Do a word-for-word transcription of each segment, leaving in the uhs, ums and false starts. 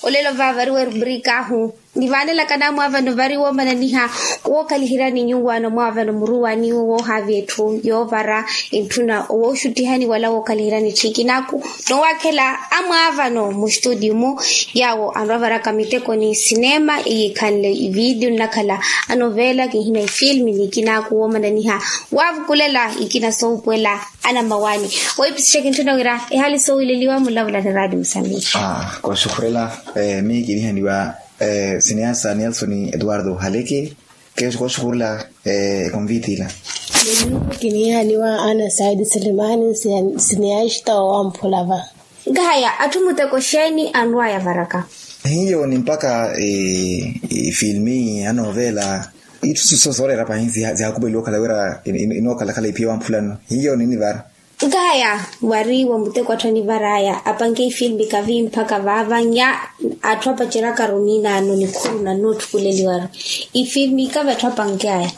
Olelo vaavariwa erubrika ahu nivaanelaka namwaavano vari woomananiha wookhaliheryani nyuwaano mwaavano muruwani woohaavi etthu yoovara etthu na wooxuttihani wala wookhaliheryani tthikinaku. Nowaakhela amwaavano mustutiyu-mu yaawo anrwavaraka miteko ni sinema iyiikhanle ividiyo nnakhala anovela kinhina ifilmi nikinaaku woomananiha waavukulela ikina soohupuwela anammawaani. Weipisixeke ntthuna wira ehali soowileliwa mulavula ni raati musamihi. Kooxukhurela. Miyo kinihaniwa sineasa nelson eduardo haleke. Kooxukhurela ekonviti ila. Miyo kinihaniwa ana saidi silimani sineasta wamphula va. Nkahaya atthu muteko xeeni anrwaya varaka? Hiyo ni mpakha ifilmi anovela itthu sooreera pahi zihaakupeliwa okhala wira inookhalakhala iphiya wamphulano hiyo ninivara. Nkahaya wari wa muteko atthu anivaraya apanke ifilmi kavi mpakha vaava nya atthu apaceryaka ruminano nikhuru nannotthukuleliwaru ifilmi kavi atthu apankeyaya.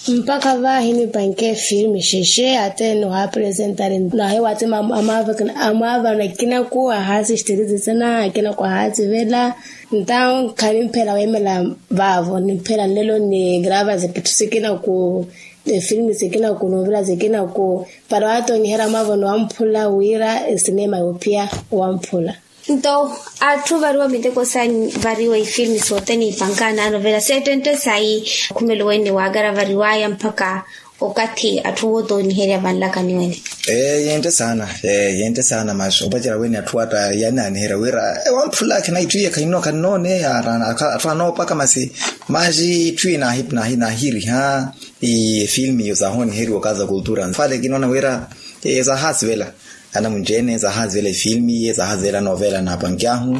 Mpakha vaahi nipanke efilmi xexe ate nohaapresentari nahiwa ate amwaavano akinaku ahaasixterizi sena akinaku ahaasivela. Ntawo khanimphela weemela vaavo nimphela nlelo nigrava zikitthu sikinaku efilmi sikinaku novela sikinaku para waatoniherya mwaavano wamphula wira esinema yoophiya wamphula. Nto atthu variwa miteko sayi variwa ifilmi sothene ipanka nanovela seettentte sayi khumelo wene waakaravariwaya mpakha okathi atthu wootooniherya vanlakaniwene. Ee yentte saana. Ee yentte saana masi opacerya wene atthu atta yanaaniherya wira wamphula akhina itthu iye khahinooneya atthu anoopaka masi masi itthu iye naahiriha. Efilmi iyo saahooniheriwa okaza kultura nfale kinoona wira saahaasivela anamunci-ene saahaasivela efilmi iye saahaasivela novela naapanke ahu.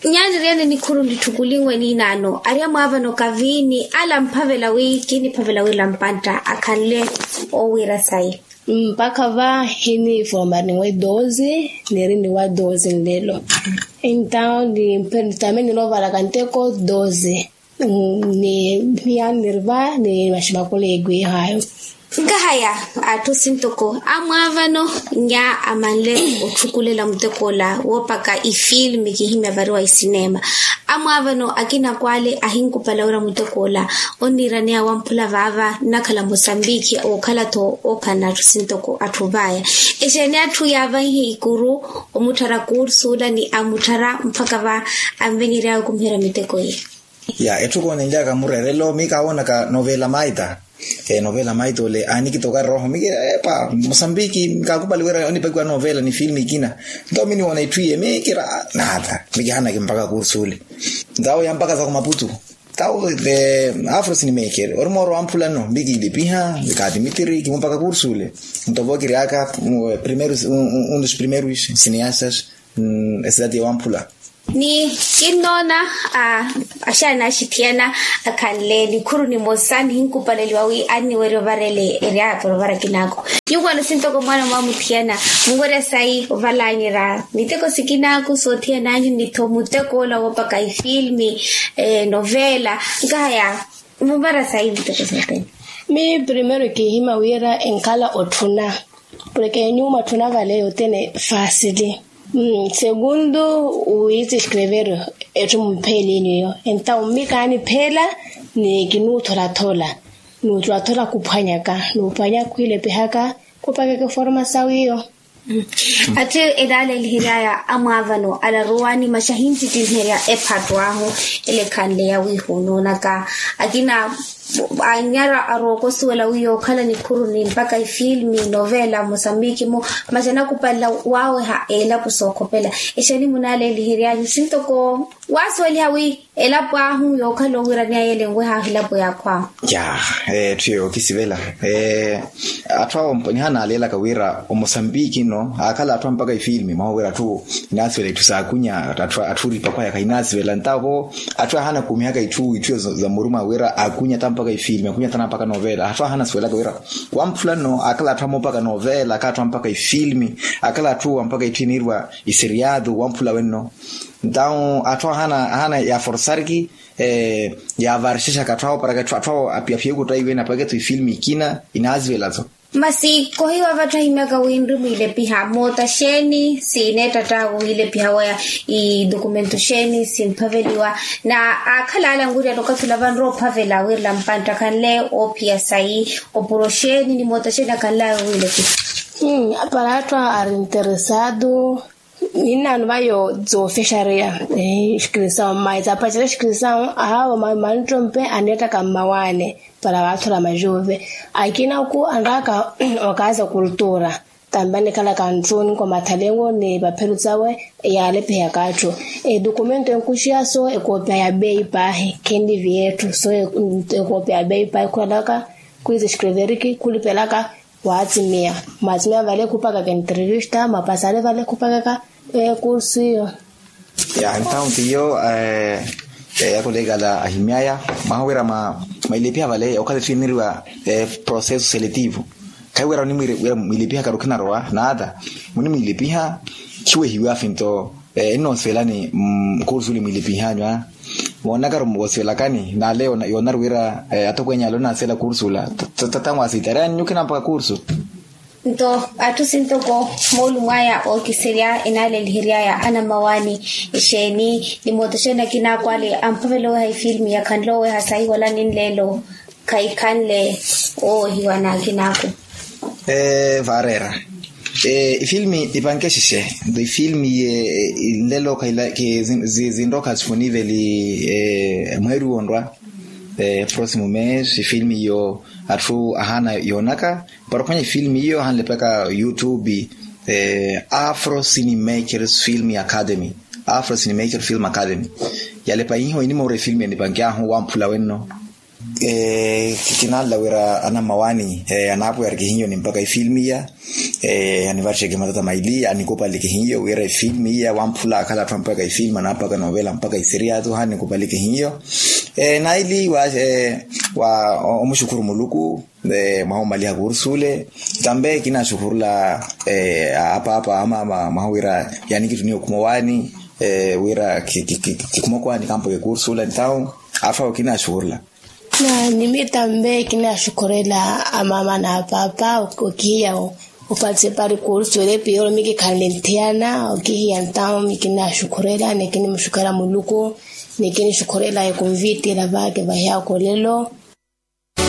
Nyaani ori ene nikhuru nitthukulinwe niinaano ari amwaavano kaviini ala mphavela wi kiniphavela wira mpantta akhanle owiira sayi. Mpakha va hiniformarinwe doze niri niwa doze nlelo. Entawo nitamini novaraka nteko doze. Ni miyaani niri va ni maxima khuleekwihayo. Nkahaya atthu sintoko amwaavano nya amanle otthukulela muteko ola woopaka ifilmi kihimya variwa isinema. Amwaavano akinaku ale ahinkupala wira muteko ola onniiraneya wamphula vaava nnakhala musambikhi wookhala-tho ookhalana atthu sintoko atthu vaaya. Exeeni atthu yaavanyihe ikuru omutthara kursu ola ni amutthara mpakha va anvenyeryaya okhumiherya miteko iya. Ya etthu koonenlyaka mureerelo miyo kaawoonaka novela maita. Novela maita ole aanikitoka rooho miyo kira epa mosambiki kaakupali wira onipakiwa novela ni filmi ikina. Nto miyo niwoona itthu iye miyo kira naata miyo kihanaki mpakha kursu ole. Ntawo ya mpakha za kumaputu tawo the afro sinimekeri ori mooro wamphulano miyo kiilipiha kaatimitiri kimupaka kursu ole. Nto vo kiryaka primeiro un dos primeiros cineastas. Esidati ya wamphula. Ni kinnoona axaana axithiyana akhanle nikhuru nimosa nihinkupaleliwa wi anniwerya ovarele eryaato novara kinaako. Nyuwo wano sintoko mwaana mwamuthiyana munwerya sayi ovalanyerya miteko sikinaaku soothiyananyu ni-tho muteko ola woopaka ifilmi novela. Nkahaya muvara sayi miteko sothene. Miyo primeiro kiihima wira enkhala otthuna porke nyuwo mwatthuna vale yothene faasili. Segundo wiitsi escrever etthu mupheelini iyo entawo mmi kaanipheela ni kinuutholathola nuutholathola khuphwanyaka nuuphwanya khwiilepihaka khupakeke forma sawiyo. Atthu elaaleeliheryaya amwaavano alaruwani masi ahinttittinherya ephattu ahu ele ekhanleya wiihunoonaka akina anyara arookosuwela wi yookhala nikhuru ni mpakha ifilmi novela mosambiki-mu masi anakupalela waaweha elapo sookhopela. Exeeni munaaleeliheryanyu sintoko waasuweliha wi elapo ahu yookhala owiiraneya yeele enwehaahu elapo ya akhwaahu. Ya etthu eyo okisivela. Atthu awo nihanaalelaka wira omosambiki no aakhala atthu ampaka ifilmi mwaha wira atthu inaasivela itthu saakunya atthu oripakwaya khainaasivela ntawo atthu ahaana kuumihaka itthu itthu za muruma wira akunya ta mpaka ifilmi akunya ta nampaka novela atthu ahaana suwelaka wira wamphula no akhala atthu amoopaka novela akhala atthu ampaka ifilmi akhala atthu ampaka itthu iniiriwa iseriado wamphula wenno. Ntawo atthu ahaana ahaana yaforsariki yavarixexaka atthu awo para atthu awo apiyaphiye okutaiwene apaketho ifilmi ikina inaasivela tho. Masi kohiwa vatthu ahimyaka wi nri mwiilepiha moota xeeni sineettatta wiilepiha waya idokumento xeeni simphaveliwa? Na akhalala ankuriyana okathi ola vanrowa ophavela wirela mpantta khanle oophiya sayi opuro xeeni ni moota xeeni akhalala wiilepiha. Para atthu ari interesado ninnaano vayo zoofexareya. Xikirisau mmayi zaapacela xikirisau ahaavo manttompe aneettaka mmawaane para vaathula majuuve akina oku anraka okaza kultura. Tambe anikhalaka ntthu ninkomathalewo ni vaphelu tsawe yaalepihaka atthu. Edokumento enkuxiya so ekoopiya ya beyi paahi khenlivi yetthu so ekoopiya ya beyi paahi khulelaka khwizi xikreveriki khulipelaka. Waatsimiya mwatsimiya vale khupakaka entrevista mwapasale vale khupakaka ekursu iyo. Ya entawn tiyo yakulekala ahimyaya mwaha wira mwa mwilepiha vale okathi thiniriwa processo seletivo. Khayi wira mwilepiha karu khinarowa naata munimwilepiha khiwehiwafi nto. Ennoosivelani kursu uli mwilepihanyu a moonakaru moosivelakani nale yoonaru wira atokwenyale onaasivela kursu ula. Tata mwasitareya ninyu khinampaka kursu. Nto atthu sintoko moolumo aya ookiserya enaaleliheryaya anammawaani exeeni ni moota xeeni akinaako ale amphavela oweha efilimi ya khanle oweha sahiwala ninleelo. Khayikhanle owehiwa n'akinaako. Vaareera efilimi nipanke xixe nto efilimi ye nlelo khaila zinrokha sifuniveli mweeri wonrwa. Próximo mês efilimi iyo atthu ahaana yoonaka para ophwanya efilimi iyo ahanlepaka youtube. Afro cinemakers film academy. Afro cinemakers film academy yalepa ihiho inimoora efilimi enipankyahu wamphula wenno. Kinanla wira anammawaani anaapwiyariki hiyo nimpaka efilimi iya. Anivatteke matata maili anikupaleke hiyo wira efilimi iya wamphula akhala atthu ampaka efilimi anaapaka novela mpaka iseriyato hanikupaleke hiyo. Naili wa omuxukhuru muluku mwaha omaliha kursu ule. Tambe kinaxukhurula apaapa amama mwaha wira yanikituniya okhuma owaani wira kikhuma okhuma owaani kampaka ekursu ule entawu. Afawo kinaxukhurula. Na nimi tambe kinaxukhurela amama na apaapa okihiya opatisipari kursu ule piyoro mikikhanle nthiyana okihiya entawu mikinaxukhurela nikinimuxukhurela muluku. Nikinixukhurela ekonviti ela vakevahiya okolelo.